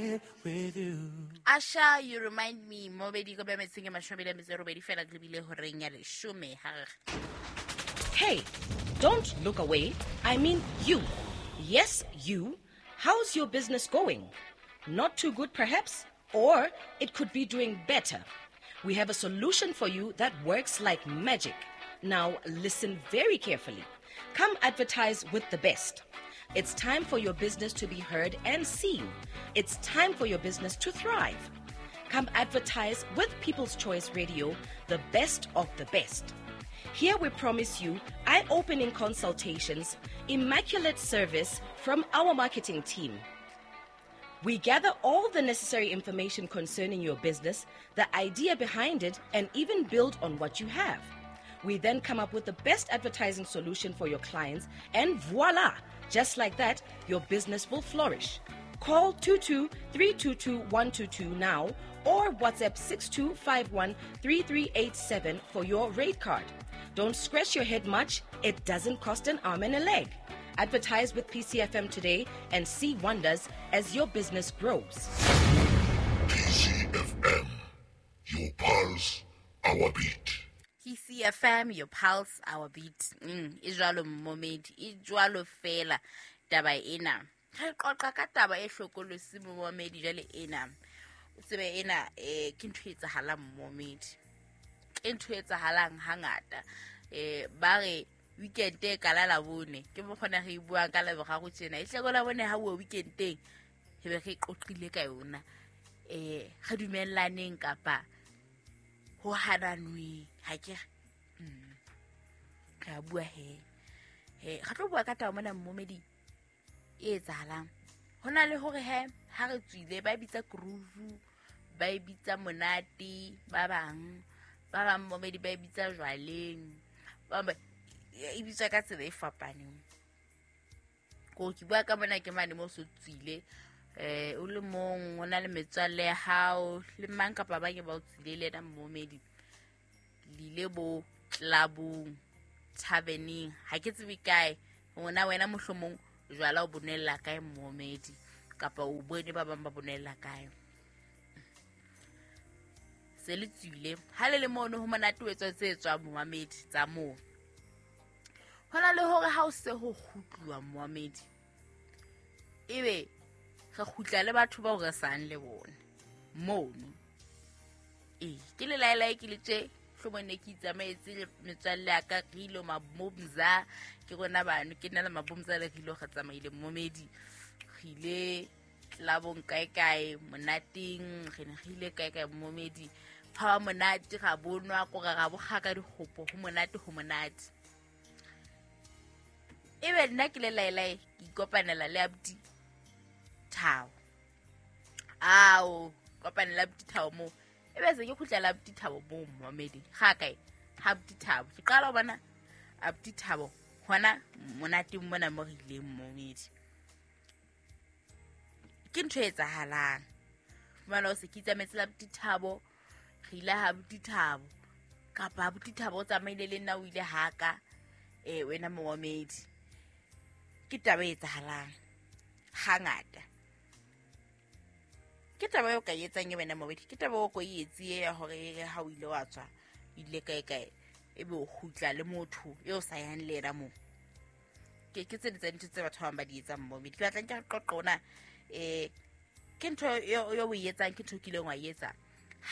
it with you. Asha, you remind me. Mobedi ko bemetseng e 28 fela re bile horeng ya leshome ha re. Hey, don't look away. I mean you. Yes, you. How's your business going? Not too good, perhaps? Or it could be doing better. We have a solution for you that works like magic. Now, listen very carefully. Come advertise with the best. It's time for your business to be heard and seen. It's time for your business to thrive. Come advertise with People's Choice Radio, the best of the best. Here we promise you eye opening consultations, immaculate service from our marketing team. We gather all the necessary information concerning your business, the idea behind it, and even build on what you have. We then come up with the best advertising solution for your clients, and voila! Just like that, your business will flourish. Call 22 322 122 now or WhatsApp 6251 3387 for your rate card. Don't scratch your head much, it doesn't cost an arm and a leg. Advertise with PCFM today and see wonders as your business grows. PCFM, your pulse, our beat. PCFM, your pulse, our beat. E jwalo momedi, e jwalo fela taba ena. Re qoqa ka taba e hlokolosi momedi jwale ena. O tsebe ena ke ntho e etsahalang momedi. Ke ntho e etsahalang hangata. Ba re weekend e kala la bone. Ke mo kgona re buang ka Laboraro tjena. E hle la bone ha o weekendeng. He be re qoqile ka yona. Re dumellaneng kapa ho hananwe ha ke re a bua he. He re tlo bua ka taba mona momedi e etsahalang. Ho na le hore he ha re tswile ba bitsa groove, ba bitsa monate, ba bang momedi ba bitsa jwaleng. Ba e bitswa ka tsela e fapaneng. Ko ke bua ka mona ke mane mo so tswile o le mong o na le metswalle ya hao le mang kapa ba ke ba o tswile le yena momedi. Le ile bo clubong, taverneng, ha ke tsebe kae. Ngwana wena mohlomong jwala o bonella kae momedi kapa o bone ba bang ba bonella kae. Se le tswile ha le le mono ho monate o etswa tse tswang momedi tsa moo. Hona le hore ha o se ho kgutluwa momedi ebe re kgutla le batho bao re sang le bona mono. Ke le laelae ke le tje hlomong ne ke itsamaetse le metswalle ya ka re ile mabomza ke rona bano ke nna le mabomza le re ile re tsamaile momedi re ile clubong kae kae monateng re ne re ile kae kae momedi ha monate ga bonwa ko ga bo kgaka dikgopo ho monate ho monate. Ebe nna ke le laelae ke ikopanela le abuti Thabo. Ao kopanela abuti Thabo mo. Ebe se ke khutlela abuti Thabo mo momedi. Ga kae ha abuti Thabo. Ke qala ho bona abuti Thabo hona monateng mona mo re ileng momedi. Ke ntho e etsahalang. Fumana o se ke itsamaetse le abuti Thabo, re ile ha abuti Thabo. Kapa abuti Thabo o tsamaile le nna o ile haka wena momedi. Ke taba e etsahalang hangata. Ke taba eo ka e etsang e wena momedi. Ke taba o ko e etse ya hore ha o ile wa tswa ile kae kae ebe o kgutla le motho eo sa yang le yena moo. Ke tse di tsa dintho tse batho ba bang ba di etsang momedi. Ke batla nke re qoqe ona ke ntho eo o e etsang ke ntho o kileng wa e etsa.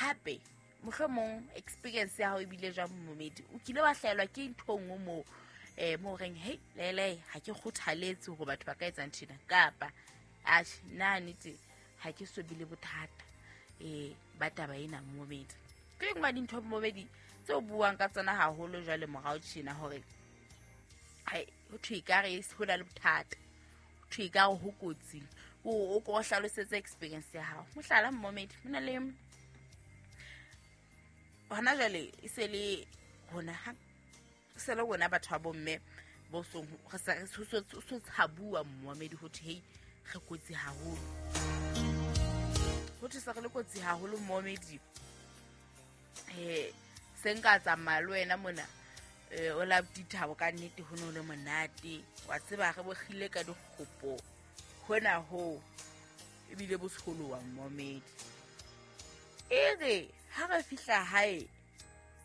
Hape mohlomong experience ya hao e bile jwang momedi. O kile wa hlaelwa ke ntho e nngwe moo mo reng hey lele ha ke kgothaletse hore batho ba ka etsa ntho ena kapa atjhe nna nnete ha ke so bile bothata ba taba ena momedi. Ke nngwe ya dintho momedi tse o buang ka tsona haholo jwale morao tjena hore hai ho thwe ekare ho na le bothata, ho thwe ekare ho kotsi. O ko hlalosetse experience ya hao. Mohlala momedi ho na le hona jwale e se le rona ha se le rona batho ba bomme bo song re sa so tshabuwa momedi ho thwe hey re kotsi haholo. Ho thwe se re le kotsi haholo momedi. Se nka tsamaya le wena mona o la Thabo ka nnete ho no le monate. Wa tseba re bogile ka dikgopo hona ho. Ebile bo tsholoha mmomedi. E re ha re fihla hae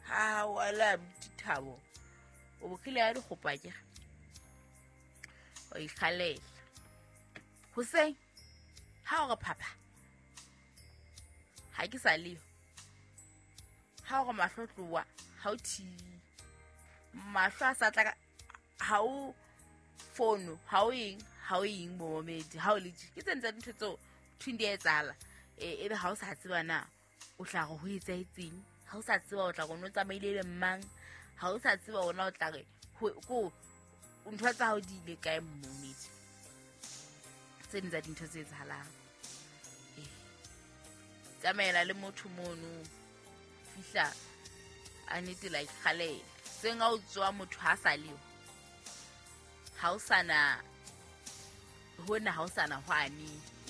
ha wala Thabo o bokile ya dikgopa ke o ikgalela hoseng ha o re phapha ha ke sa leyo ha o re mahlo tloa ha o thibi mahlo a sa tla ha o fono ha o eng momedi ha o le ke tsena tsa dintho tseo thweng di a etsahala ebe ha o sa tseba na o tla re ho etsahetseng ha o sa tseba o tla re o tsamaile le mang ha o sa tseba ona o tla re ko ntho tsa hao di ile kae momedi tse ding tsa dintho tse etsahalang tsamaela le motho mono fihla a nete la ikgalela seng ha o tswa motho ha sa leo ha o sana hona ha o sana hwane o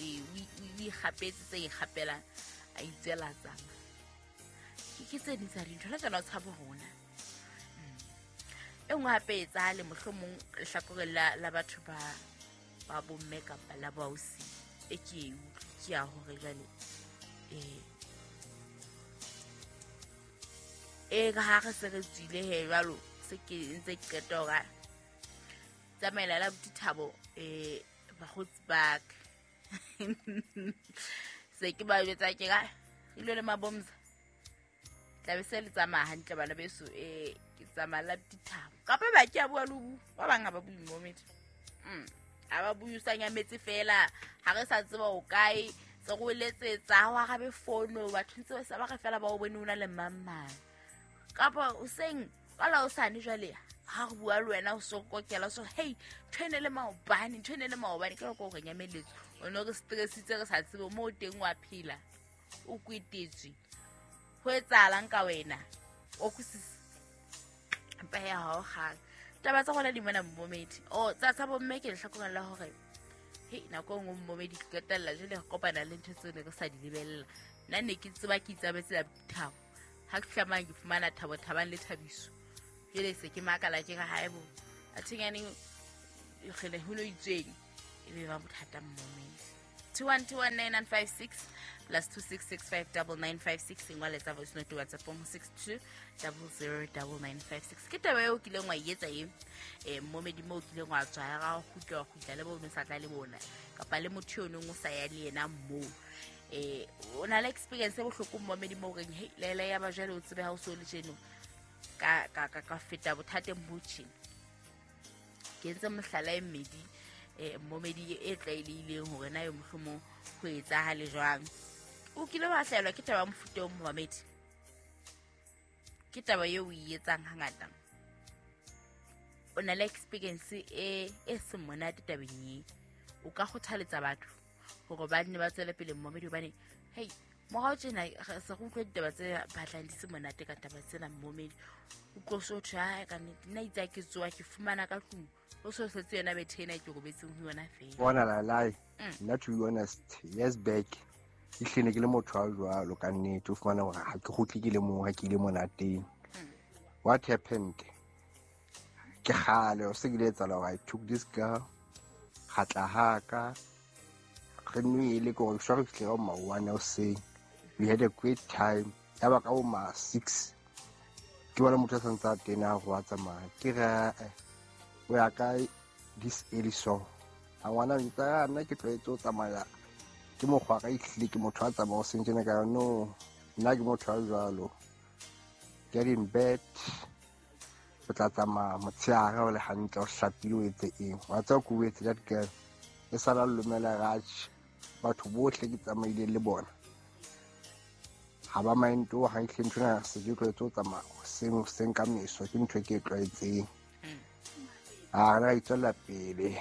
ikgapetse tse ikgapelang a itswela tsama ke tse ding tsa dintho le tsona o tshabo rona e nngwe hape e etsahale mohlomong lehlakoreng la batho ba bomme kapa la baosi e ke e utlwe ke ya hore jwale e ka ha re se re tswile he jwalo se ke ntse ke qeta hore tsamaela la abuti Thabo bakgotsi ba ka se ke ba jwetsa ke ka ile le mabomza tlabe se le tsamaya hantle bana beso ke tsamaya la abuti Thabo kapa ba ke a bua le ba bang ha ba bue momedi ha ba bue sa nyametse fela ha re sa tseba o kae se go letsetsa ha o arabe fono batho ntse ba sa ba re fela ba o bone o na le mang kapa o seng ka la o sane jwale ha re bua le wena o so kokela so hey ntho ene le maobane ntho ene le maobane ke go re nyameletse o no re stressitse re sa tsebe mo teng wa phela o kwetetswe ho etsahalang ka wena o kusisa mpa ya hao kgang taba tsa rona di mona mmomedi o tsa bomme ke lehlakoreng la hore hei nako e nngwe mmomedi ke qetella jwale re kopana le ntho tseo ne re sa di lebella nna ne ke tseba ke itsabetse la Thabo ha ke fihla ke fumana Thabo Thabang le Thabiso jwale se ke makala ke re haebo a thenyaneng kgele ho no itsweng e be ba bothata mmomedi 2121956 plus 266599956 engwa letsa voice note WhatsApp mo 62009956 ke taba eo kileng wa etsa e mmomedi mo kileng wa tswa ga go kgutla le bo no sa tla le bona kapa le motho yo nong o sa ya le yena mo o na le experience e bohloko mmomedi mo reng hey lela ya ba jwale o tsebe ha o so le tjeno ka feta bothateng bo tjena ke entse mohlala e mmedi mmomedi e tlwaelehileng hore na yo mohlomong ho etsahale jwang o kile wa hlaelwa ke taba mofuta o momedi ke taba eo o e etsang hangata o na le experience e seng monate tabeng e o ka kgothaletsa batho hore ba nne ba tswele pele mmomedi hobane hei morao tjena se re utlwa ditaba tse batlang di se monate ka taba tsena mmomedi o tlo so thwe ha ka nnete nna itse ke tsoa ke fumana ka tlung o so setse yona bethe ena ke robetseng ho yona fela bona la lai nna to be honest years back ke hlene ke le motho wa jwalo ka nnete o fumana hore ha ke kgutle ke le mong ha ke ile monateng what happened ke kgale o se ke ile etsahala hore I took this girl ga tla haka re nwele ke gore ke re fihle ka ma 1 hoseng we had a great time ya ba ka ma 6 ke bona motho a santse a tena go a tsamaya ke re o ya ka this early so a ngwana ntsa nna ke tlwaetse o tsamaya ke mokgwa ka itlile ke motho a tsamaya o seng tjena ka no nna ke motho a jwalo get in bed o tla tsamaya motshehare o le hantle o hlapile o etse eng wa tseba ko o etse that girl e sala lumela ratjhe batho bohle ke tsamaile le bona ha ba mind o ha ihle ntho na se ke tlwaetse o tsamaya seng ka meso ke ntho e ke e tlwaetseng a re itswela pele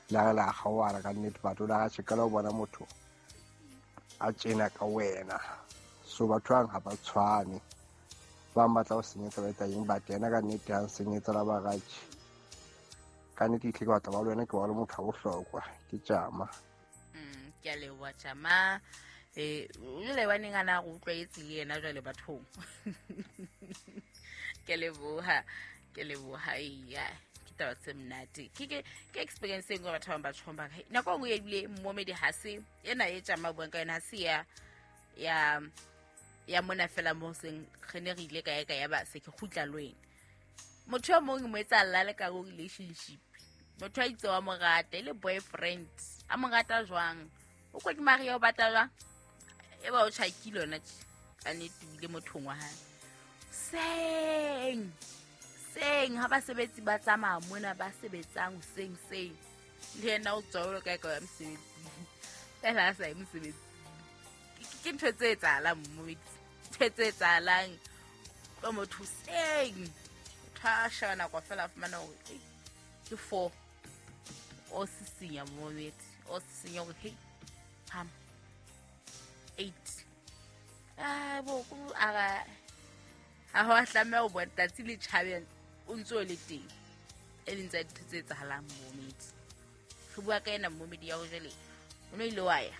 la la kgaoana ka nnete batho la ratjhe ka la o bona motho a tjena ka wena so batho bang ha ba tshwane ba batla ho senyetsa ba etsa eng but yena ka nnete ha senyetsa la ba ratjhe ka nnete ihle ke batla ba le wena ke wa le motho wa bohlokwa ke tjama ke a leboha tjama jwale baneng ana go utlwaetse le yena jwale bathong ke leboha iya ke taba tse monate. Ke experience e nngwe batho ba bang ba tjhong ba re nako e nngwe ebile momedi ha se ena e tjama buang ka yona, ha se ya mona fela mo seng re ne re ile kae kae ya ba se ke kgutla le wena. Motho e mong mo etsa lla le ka go relationship. Motho a itse wa mo rata, e le boyfriend. A mo rata jwang? O kwa ke Maria o batla jwang? E ba o tjhakile yona tje. Ka nnete o ile mothong wa hae. Seng ha basebetsi ba tsamaya mona ba sebetsang seng. Le yena o tswa o kae kae ya mosebetsing. Fela a sa ye mosebetsing. Ke ntho tse etsahalang mmomedi. Ntho tse etsahalang ka motho seng. Motho a sheba nako fela a fumana hore ke 4. O sisinya mmomedi. O sisinya hore hey, ham 8. Ah, bo ku ara ha ho tlameha ho bona tsatsi le tjhabeng o ntso le teng. E leng tsa dintho tse etsahalang mmomedi. Re bua ka ena mmomedi ya ho jwale. O no ile wa ya.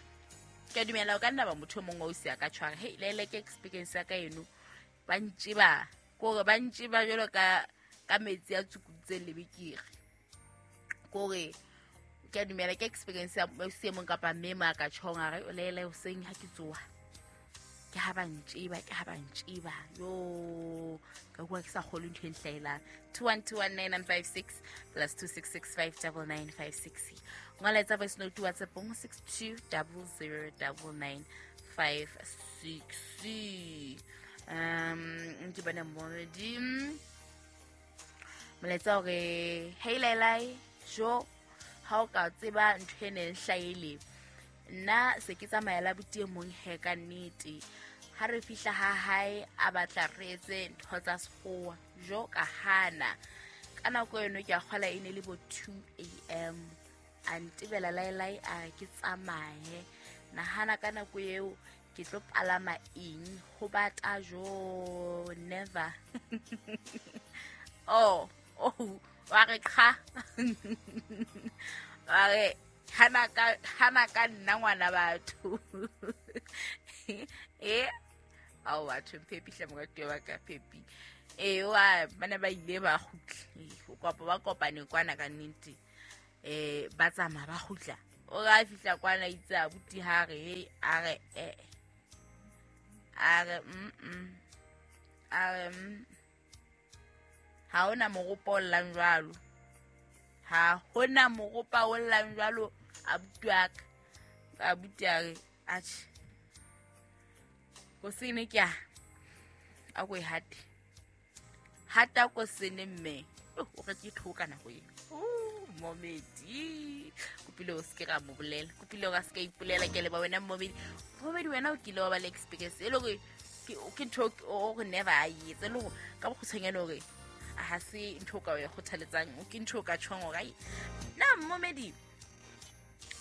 Ke a dumela o ka nna ba motho e mong wa o siya ka tshwara. Hey, le ke experience ya ka eno. Ba ntjeba, kore ba ntjeba jwalo ka metsi a tsukutseng lebekere. Kore ke a dumela ke experience ya se mong kapa mme mo a ka tjhong a re o lele hoseng ha ke tsoha. Ke ha ba ntjeba. Yo, ka bua ke sa kgolwe ntho e nhlaelang. 2121956 plus 266599956. Ngola etsa voice note WhatsApp 62009956. Ke bona mmomedi. Molaetsa hore hey Lailai, jo ha o ka tseba ntho e neng hlaele. Nna se ke tsamaya la buti e mong he ka nnete. Ha re fihla ha hae a batla re etse ntho tsa sekgowa, jo ka hana. Ka nako eno ke a kgola e ne le bo 2 a.m. A ntebela Lailai a re ke tsamaye. Nahana ka nako eo ke tlo palama eng ho bata jo never. Oh, wa re qha. Wa re hana ka nna ngwana batho. Ao batho Phepi hle moratuwa wa ka Phepi. Wa bana ba ile ba kgutla. O kopa ba kopane kwana ka nnete. Ba tsamaya ba kgutla. O ra fihla kwana itse abuti ha re a re a re a re ha hona moropa o llang jwalo. Ha hona moropa o llang jwalo abuti wa ka. Abuti a re atjhe. Kosene ke a ko e hate. Hata kosene mme. O re ke thoka nako eo. Momedi. Kopile o se ke ra mo bolela. Kopile o ka se ka ipolela ke le ba wena momedi. Momedi wena o kile wa ba le experience e le hore ke ntho o re never a etse le hore ka bokgutshwanyane hore ha se ntho ka o e kgothaletsang, ke ntho ka tjhong hore ai na momedi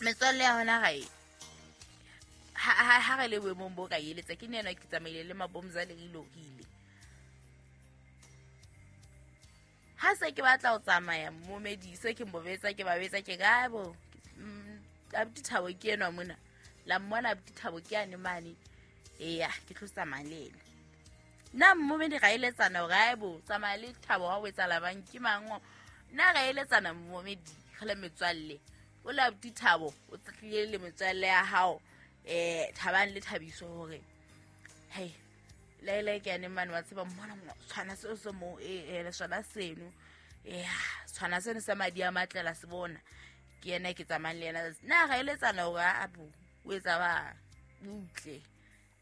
metswalle ya hona gae ha re le boemong bo ka eletsa ke nna ke tsamaile le mabomza le ile hile. Ha se ke batla ho tsamaya momedi se ke mbobetsa ke ba betsa ke ka bo abuti Thabo ke enwa mona la mmona abuti Thabo ke ane mane. Eya ke tlo tsamaya le ena. Nna momedi ga eletsana hore ai bo tsamaya le Thabo wa o etsa labang ke mang. Nna ga eletsana momedi re le metswalle. O la abuti Thabo o tlile le metswalle ya hao Thabang le Thabiso hore hey Laila ke ane mane wa tseba mmona mo tshwana seo se mo le sona seno. Tshwana seno sa madi a matlela se bona. Ke yena ke tsamayang le yena. Nna ga eletsana hore a bo o etsa ba butle.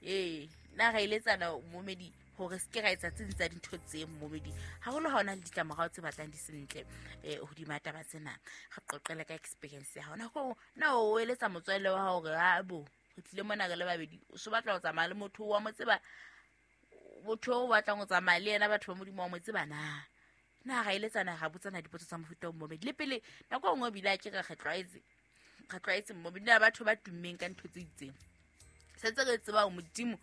Nna ga eletsana momedi hore se ke ra etsa tse ding tsa dintho tse momedi. Haholo ha ona le ditlamorao tse batlang di sentle hodima taba tsena. Re qoqele ka experience ya hao. Nako na o eletsa motswalle wa hao hore a bo re tlile mona re le babedi. O so batla ho tsamaya le motho wa mo tseba. Motho o batlang ho tsamaya le yena batho ba Modimo wa mo tseba na. Na ga eletsana ga botsana dipotso tsa mofuta o momedi. Le pele nako e nngwe bile a ke re tlwaetse momedi na batho ba tummeng ka ntho tse itseng. Sentse re tseba Modimo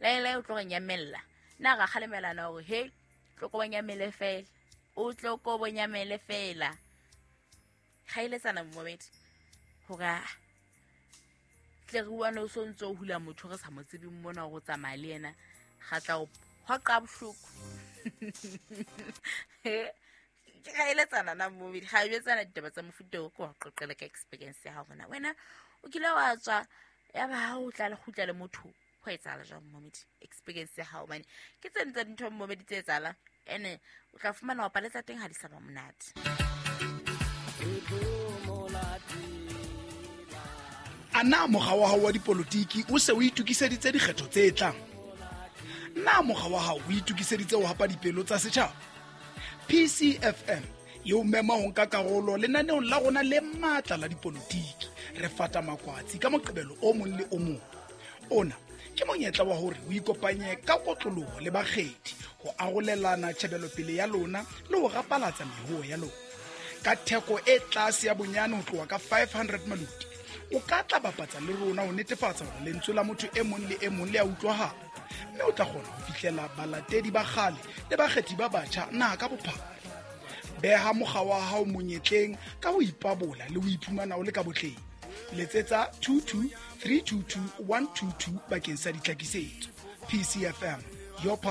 Lailai o tlo re nyamella. Nna ra kgalemelana hore he tlo ko bonyamele fela. O tlo ko bonyamele fela. Ga eletsana momedi hore tle re uane o so ntso o hula motho re sa mo tsebeng mona hore o tsamaya le yena. Ga tla o hoqa bohloko. Ke ra eletsana na mmomedi, ga jwetsana ditaba tsa mofuta o, ke wa qoqele ka experience ya hao gona wena o kile wa tswa ya ba ha o tla le kgutla le motho, ho etsahala jwang mmomedi? Experience ya hao bane ke tse tsa dintho mmomedi tse etsahalang, ene o tla fumana wa paletsa teng ha di sa ba monate. A na mokga wa hao wa dipolotiki o se o itokiseditse dikgetho tse tlang? Na mokga wa hao o itokiseditse ho hapa dipelo tsa setjhaba? PCFM e o mema ho nka karolo lenaneong la rona le matla la dipolotiki. Re fata makwatsi ka Moqebelo o mong le o mong. Ona ke monyetla wa hore o ikopanye ka kotloloho le bakgethi ho arolelana tjhebelopele ya lona le ho rapalatsa mehoo ya lona ka theko e tlase ya bonyane ho tloha ka 500 maluti. O ka tla bapatsa le rona ho netefatsa hore lentswe la motho e mong le e mong le a utlwahala, mme o tla kgona ho fihlela balatedi ba kgale le bakgethi ba batjha naha ka bophara. Beha mokga wa hao monyetleng ka ho ipabola le ho iphumana o le ka botleng. Letsetsa 22 322 122 bakeng sa ditlhakisetso. PCFM, your power.